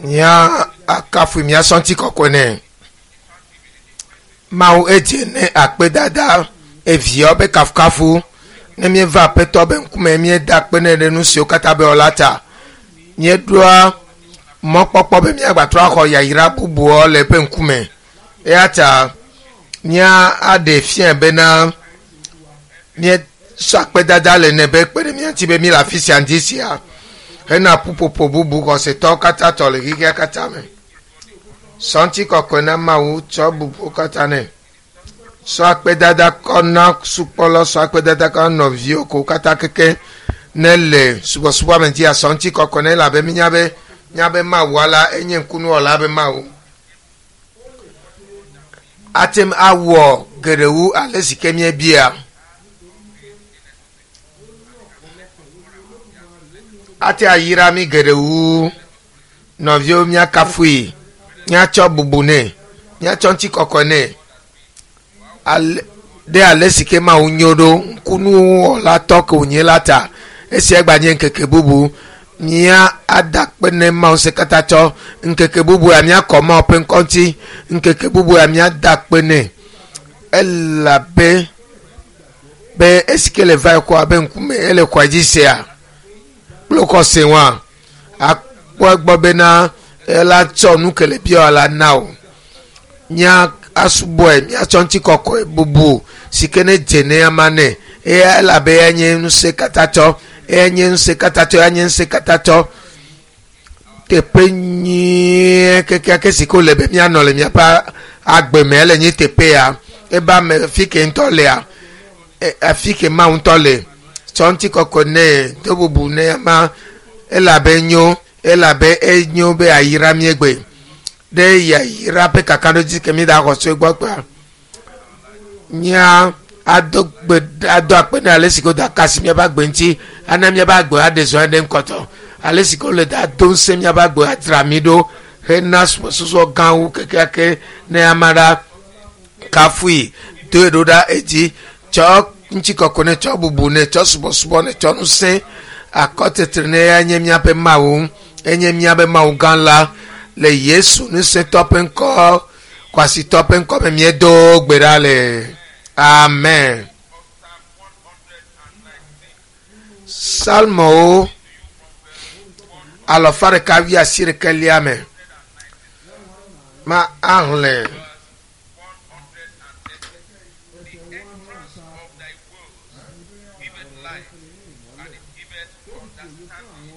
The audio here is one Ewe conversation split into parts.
Mía akafu mía sɔŋti kɔkɔe nɛ. Mawu edze ne akpedada eviawo be kafukafu. Ne míeva aƒetɔ be ŋkume míeda akpe nɛ ɖe nu siwo katã be wɔla ta. Míeɖoa mɔkpɔkpɔ be míagbatrɔ axɔ yayra bubuwo le eƒe ŋkume. Eya ta mía aɖe fiae bena míesɔ akpedada le nɛ be kpe ɖe mía ŋuti be míele afi sia ŋdi sia hena ƒuƒoƒo bubu xɔsetɔwo katã tɔ le xexea katã me. Sɔ ŋutikɔkɔe na Mawu tsɔ bubuwo katã nɛ. Sɔ akpedada kɔ na sukpɔlɔ, sɔ akpedada kɔ na nɔviwo ko katã keke ne le subɔsubɔ me dzia sɔ ŋutikɔkɔe nɛ elabe mínya be míabe Mawua la enye ŋkunuwɔla be Mawu. Ate ŋu awɔ geɖe wu ale si ke míebia. Ate ayra mí geɖe wu. Nɔviwo míakafui, míatsɔ bubu nɛ, míatsɔ ŋutikɔkɔe nɛ. Ale ɖe ale si ke Mawu nyo ɖo ŋkunuwɔla tɔ ke wònye la ta. Esia gbanye ŋkeke bubu. Mía ada akpe ne Mawu se katã tsɔ. Ŋkeke bubu ya míakɔ Mawu ƒe ŋkɔ ŋuti. Ŋkeke bubu ya míada akpe nɛ. Elabe be esi ke le va yi kɔ abe ŋkume ele xɔa dzi sea kple xɔse wa akpɔ egbɔ bena ela tsɔ nu ke le bia la na o. Mía asubɔe míatsɔ ŋutikɔkɔe bubu si ke ne dze ne ama nɛ. Eya elabe eya nye ŋusẽ katã tsɔ. Eya nye ŋusẽ katã tsɔ. Eya nye ŋusẽ katã tsɔ. Teƒe nyuie kekeake si ke wòle be míanɔ le míaƒe agbe me ele nye teƒe ya. Ebe ame fi ke ŋutɔ lea, afi ke Mawu ŋutɔ le. Tsɔ ŋutikɔkɔe nɛ, do bubu nɛ ama elabe nyo, elabe enyo be ayra míegbe. Ɖe yayra ƒe kakaɖedzi ke míeda xɔ tso egbɔ kpea. Mía ado gbe ado akpe ne ale si ke woda kasi míaƒe agbe ŋuti ana míaƒe agbe aɖe zɔ ɖe ŋkɔtɔ. Ale si ke wole da do ŋusẽ míaƒe agbe adzra mí ɖo hena subɔsubɔ gãwo kekeake ne ame aɖe kafui doe ɖo ɖa edzi tsɔ ŋutikɔkɔe ne tsɔ bubu ne tsɔ subɔsubɔ ne tsɔ ŋusẽ akɔtetre ne ya nye míaƒe Mawu enye míaƒe Mawu gã la le Yesu ŋusẽtɔ ƒe ŋkɔ kwasitɔ ƒe ŋkɔ me míedo gbe ɖa le amen. Salmowo alɔfa ɖeka wuiasiɖekɛlia me ma ahlẽ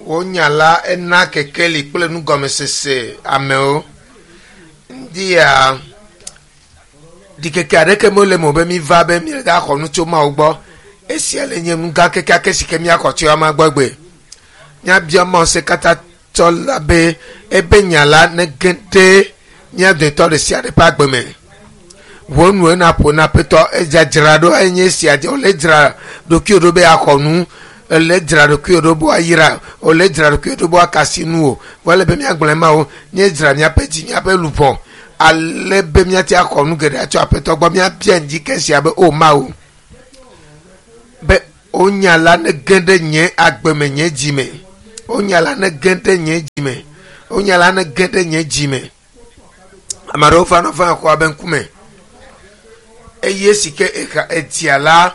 Wò nya la ena kekeli kple nugɔmesese amewo. Ŋdia ɖikeke aɖeke mele eme o be míva be míaxɔ nu tso Mawu gbɔ. Esia le nye nu gã kekeake si ke míaxɔ tso ama gbɔ egbe. Míabia Mawu se katã tsɔ la be ebe nya la nege ɖe mía dometɔ ɖe sia ɖe ƒe agbe me. Ʋɔ nu ena ƒo na aƒetɔ edzadzra ɖo enye esia dze wòle dzra ɖokuiwò ɖo be yeaxɔ nu ele dzra ɖokuiwò ɖo be woayra wòle dzra ɖokuiwò ɖo be woakasi nu o. Vɔ ele be míagblɔe ma o míedzra míaƒe dzi míaƒe luʋɔ ale be míate axɔ nu geɖe atso aƒetɔ gbɔ míabia ŋdi ke sia be o Mawu be wò nya la nege ɖe nye agbe me nye dzi me. Wò nya la nege ɖe nye dzi me. Wò nya la nege ɖe nye dzi me. Ame aɖewo va nɔ va xɔa be ŋkume eye si ke exa edzia la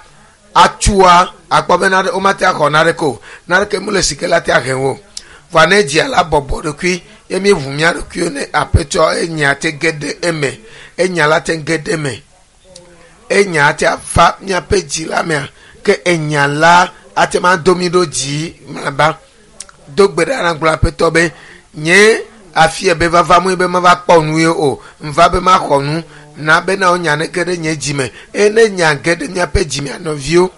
atsua akpɔ be nane womate axɔ naneke o. Naneke mele si ke la te ahe o. Vɔa ne edzia la bɔbɔ ɖokui ye míeʋu mía ɖokuiwo ne aƒetɔ enya te ge ɖe eme. Enya la te ge ɖe eme. Enya ate ava míaƒe dzi la mea ke enya la ate ma do mí ɖo dzi mlɔeba. Do gbe ɖa na gblɔ aƒetɔ be nye afia be vava mue be mava kpɔ nu ye o. Ŋva be maxɔ nu na bena wonya nege ɖe nye dzi me. Eye ne nya ge ɖe míaƒe dzi mea nɔviwo.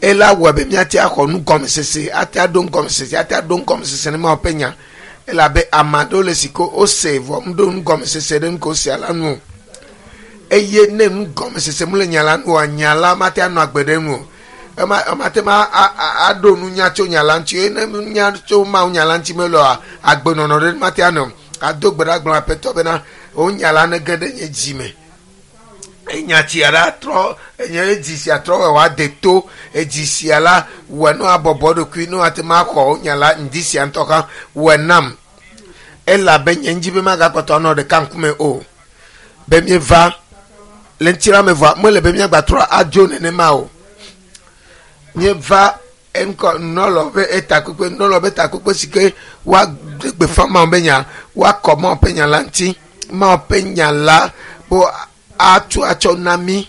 Ela wɔe be míate axɔ nugɔmesese, ate aɖo nugɔmesese, ate aɖo nugɔmesese ne Mawu ƒe nya. Elabe ame aɖewo le si ke wose vɔ meɖo nugɔmesese ɖe nu ke wosea la nu o. Eye ne nugɔmesese mele nya la nu oa, nya la mate anɔ agbe ɖe enu o. Ema mate ma aɖo nunya tso nya la ŋuti eye ne nunya tso Mawu nya la ŋuti mele oa, agbenɔnɔ ɖe mate anɔ o. Ado gbe ɖa gblɔ Aƒetɔ bena, wò nya la nege ɖe nye dzi me. Enya sia la trɔ enye edzi sia trɔ wɔ wòade to edzi sia la wɔ ne wòabɔbɔ eɖokui ne wòate ŋu axɔ nya la ŋdi sia ŋutɔ hã wɔe nam. Elabe nye ŋdi be magakpɔtɔ anɔ ɖeka ŋkume o. Be míeva le ŋutilã me vɔa mele be míagbatrɔ adzo nenema o. Míeva eŋkɔ nunɔlɔ ƒe etakpekpe nunɔlɔ ƒe takpekpe si ke woaɖe gbeƒã Mawu ƒe nya, woakɔ Mawu ƒe nya la ŋuti. Mawu ƒe nya la be atu atsɔ na mí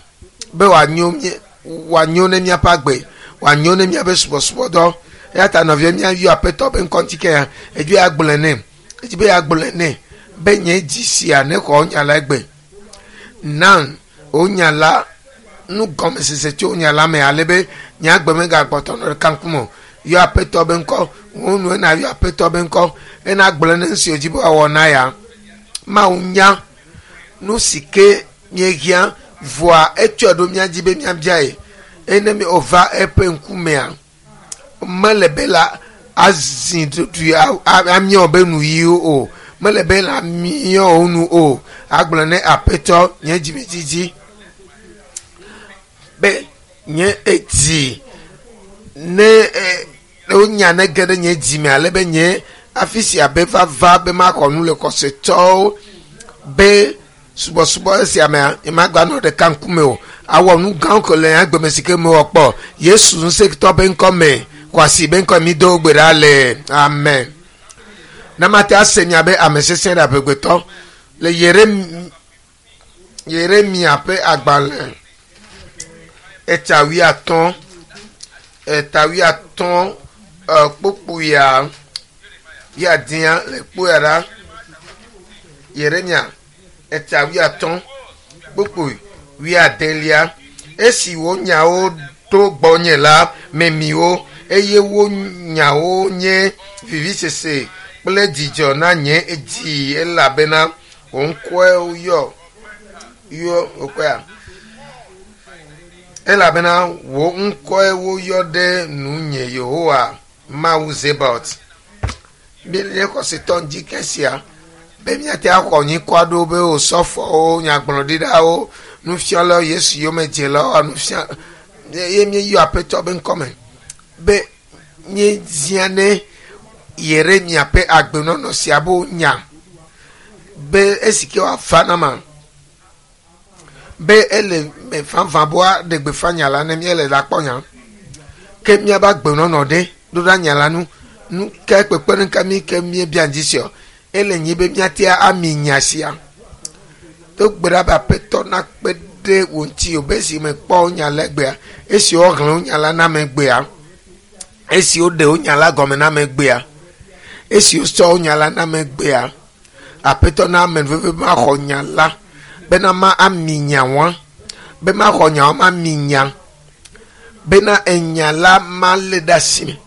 be wòanyo mí wòanyo ne míaƒe agbe, wòanyo ne míaƒe subɔsubɔdɔ. Eya ta nɔvia míayɔ Aƒetɔ ƒe ŋkɔ ŋuti ke ya edzi be yeagblɔe nɛ. Edzi be yeagblɔe nɛ be nye dzi sia nexɔ nya la egbe. Na wò nya la nugɔmesese tso nya la me ale be nye agbe megakpɔtɔ nɔ ɖeka ŋkume o. Yɔ Aƒetɔ be ŋkɔ, wò nu ena yɔ Aƒetɔ be ŋkɔ ena gblɔe ne nu si wòdzi be wòawɔ na ya. Mawu nya nu si ke míehiã vɔa etsɔe ɖo mía dzi be míabiae. Eye ne wòva eƒe ŋkumea, mele be la azi ɖoɖoe amiɔ be nuyiwo o. Mele be la miɔ wo nu o. Agblɔ ne Aƒetɔ nye dzimedzidzi be nye edzi ne wonya ne ge ɖe nye dzime ale be nye afi sia be vava be maxɔ nu le xɔsetɔwo be subɔsubɔ esia mea nyemagba nɔ ɖeka ŋkume o. Awɔ nu gãwo ke le nye agbe me si ke mewɔ kpɔ. Yesu ŋusẽtɔ be ŋkɔ me, xɔasi be ŋkɔ mi do gbe ɖa le. Amen. Ne mate ase mia be ame sesẽ ɖe aƒegbetɔ le Yeremia ƒe agbalẽ eta wuiatɔ̃ eta wuiatɔ̃ kpukpuia wuiadea le kpuia ɖa. Yeremia eta wuiatɔ̃ kpukpui wuiadelia. Esi wò nyawo ɖo gbɔnye la, memi wo eye wo nyawo nye vivisese kple dzidzɔ na nye dzi elabena wò ŋkɔe woyɔ yɔ wokɔea elabena wò ŋkɔe woyɔ ɖe nunye Yehowa Mawu Zebaot. Míele xɔsetɔ ŋdi ke sia be míate axɔ nyikɔ aɖewo be osɔfowo, nyagblɔɖilawo, nufialawo, Yesu yomedzelawo, nufia ye míeyɔ Aƒetɔ be ŋkɔme be míezia ne Yeremia ƒe agbenɔnɔ sia be nya be esi ke wòava na ma be ele me vavã be woaɖe gbeƒã nya la ne míele la kpɔ nya ke míaƒe agbenɔnɔ ɖe ɖo ɖa nya la nu nu ke kpekpeɖeŋu ka mí ke míebia ŋdi sia ele nyi be míate ami nya sia do gbe ɖa be Aƒetɔ nakpe ɖe wò ŋuti o be esi mekpɔ nya la egbea esi woxlẽ wo nya la na me egbea esi woɖe wo nya la gɔme na me egbea esi wosɔ wo nya la na me egbea Aƒetɔ na ame veve be maxɔ nya la bena ma ami nya wa be maxɔ nya wa ma mi nya bena enya la malé ɖe asi me.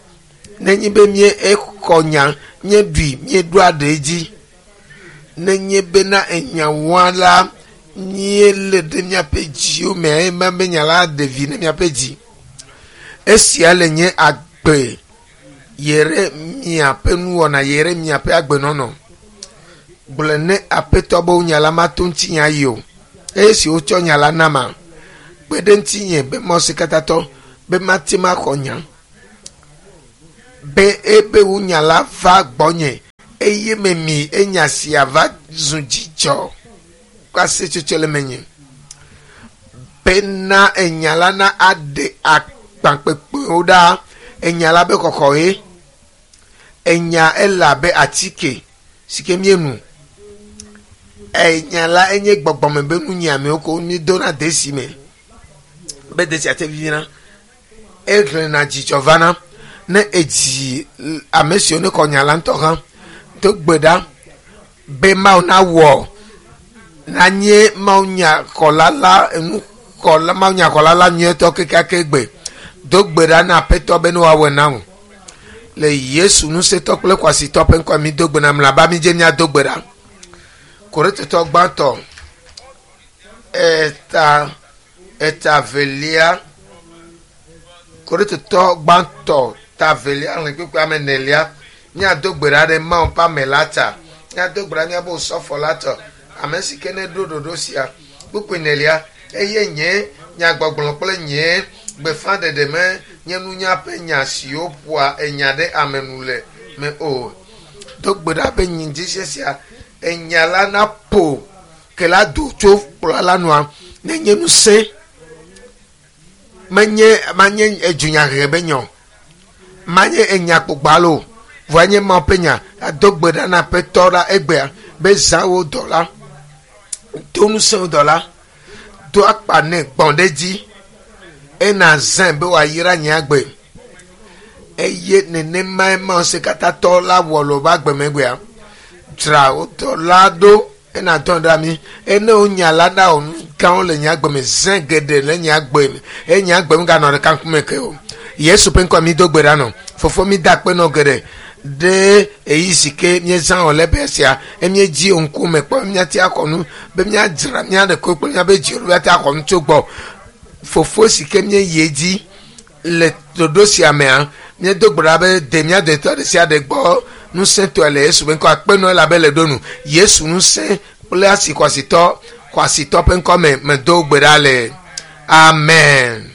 Nenye be mí exɔ nya míeɖui míeɖo aɖe dzi nenye bena enya wa la míelé ɖe míaƒe dziwo me eye be nya la ɖe vi ne míaƒe dzi. Esia le nye agbe Yeremia ƒe nuwɔna Yeremia ƒe agbenɔnɔ. Gblɔe ne Aƒetɔ be nya la mato ŋutinye ayi o. Eye esi wotsɔ nya la nama, kpe ɖe ŋutinye be Mɔsikatatɔ be mate maxɔ nya be ebe wò nya la va gbɔnye eye memi enya sia va zu dzidzɔ kple aseyetsotso le menye bena enya la na aɖe akpakpekpewo ɖa. Enya la be xɔxɔe. Enya ele abe atike si ke míenu. Enya la enye gbɔgbɔme be nunyiamewo ko mídona desi me be desia te vivina. Exlẽna dzidzɔ vana ne edzi ame siwo ne xɔ nya la ŋutɔ hã do gbe ɖa be Mawu nawɔ nanye Mawu nyaxɔla la enuxɔla Mawu nyaxɔla la nyuietɔ kekeake gbe. Do gbe ɖa na Aƒetɔ be ne wòawɔe na wò. Le Yesu ŋusẽtɔ kple kwasitɔ ƒe ŋkɔ mi do gbe na mlaba mi dze míado gbe ɖa. Korintotɔ gbãtɔ eta eta velia Korintotɔ gbãtɔ ta velia xlẽ kpukpui ame enelia míado gbe ɖa ɖe Mawu ƒe ame la ta. Míado gbe ɖa míabe osɔfo la tɔ ame si ke ne ɖo ɖoɖo sia. Kpukpui enelia eye nye nyagbɔgblɔ kple nye gbeƒãɖeɖe me nye nunya ƒe nya siwo ƒoa enya ɖe ame nu le me o. Do gbe ɖa be nyidzi sia enya la naƒo ke la do tso kplɔa la nua nenye ŋusẽ menye manye edunyahehe be nya o manye enya kpogba o vɔa nye Mawu ƒe nya ado gbe ɖa na Aƒetɔ la egbea be zã wo dɔ la do ŋusẽ wo dɔ la do akpa nɛ gbɔn ɖe dzi ena zãe be wòayra nye agbe eye nenemae Mawu se katã tɔ la wɔ le woƒe agbemegbea dzra wo dɔ la ɖo ena dɔn ɖe ami ene wo nya la ɖa wo nu gãwo le nye agbe me zẽ geɖe le nye agbe me eye nye agbe me ganɔ ɖeka ŋkume ke o Yesu ƒe ŋkɔ mi do gbe ɖa nɔ fofo mi da akpe nɔ geɖe ɖe eyi si ke míezã wò le be sia emiedzi wo ŋkume kpɔ míate akɔ nu be míadzra mía ɖekui kple míabe dziwo míate akɔ nu tso gbɔ fofo si ke míeyi edzi le ɖoɖo sia mea míedo gbe ɖa be de mía detɔ ɖe sia ɖe gbɔ ŋusẽtɔe le Yesu ƒe ŋkɔ akpe nɔ elabe le ɖo nu Yesu ŋusẽ kple asi xɔasitɔ xɔasitɔ ƒe ŋkɔ me medo gbe ɖa le amen.